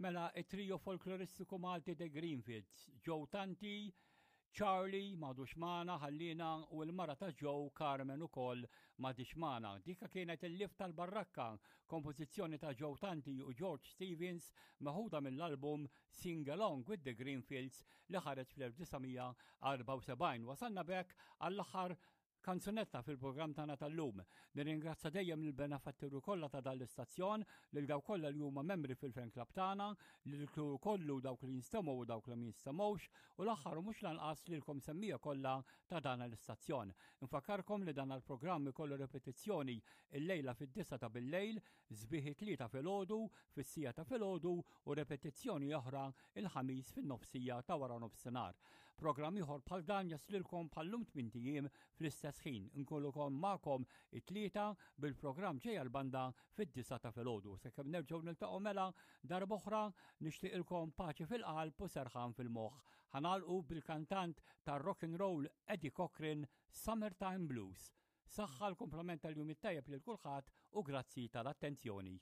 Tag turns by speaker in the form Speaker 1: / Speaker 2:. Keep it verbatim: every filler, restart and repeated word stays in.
Speaker 1: Mela, it-trio folkloristiku Malti The Greenfields, Joe Tanti, Charlie m'għadux magħna ħallina u l-mara ta' Joe Carmen ukoll m'għadhiex magħna. Dika kienet il-Lift tal-Barrakka, kompożizzjoni ta' Joe Tanti u George Stevens meħuda mill-album Sing Along with the Greenfields li ħareġ fl-elf disa' mija erbgħa u sebgħin. Wasalna b'hekk għall-aħħar kanzunetta fil-programm tagħna tal-lum. Nirringrazzja dejjem lill-benefatturi kollha ta' dan l-istazzjon, lil dawk kollha li huma membri fil-fan club tagħna, lil kollu dawk li jinstemgħu u dawk li ma jinstemgħux, u l-aħħar u mhux lanqas lilkom semmiegħa kollha ta' dan l-istazzjon. Infakkarkom li dan il-programm ikollu repetizzjoni il-lejla fid-disgħa ta' bil-lejl, sbieħ it-Tlieta filgħodu, fis-siegħa ta' filgħodu u repetizzjoni oħra il-Ħamis fin-nofsija ta' wara nofsinhar. Programm ieħor bħal dan jaslilkom bħallum tmint ijiem fl-istess ħin. Inkunu magħkom it-Tlieta bil-programm Ġejja l-Banda fid-disgħa ta' filgħodu. Sakemm nerġgħu niltaqgħu mela darb'oħra, nixtieqilkom paċi fil-qalb u serħan fil-moħħ. Ħa nagħlqu bil-kantant tar-rock and roll Eddie Cochran, Summertime Blues. Saħħa, l-kumplament tal-jum it-tajjeb lil kulħadd u grazzi tal-attenzjoni.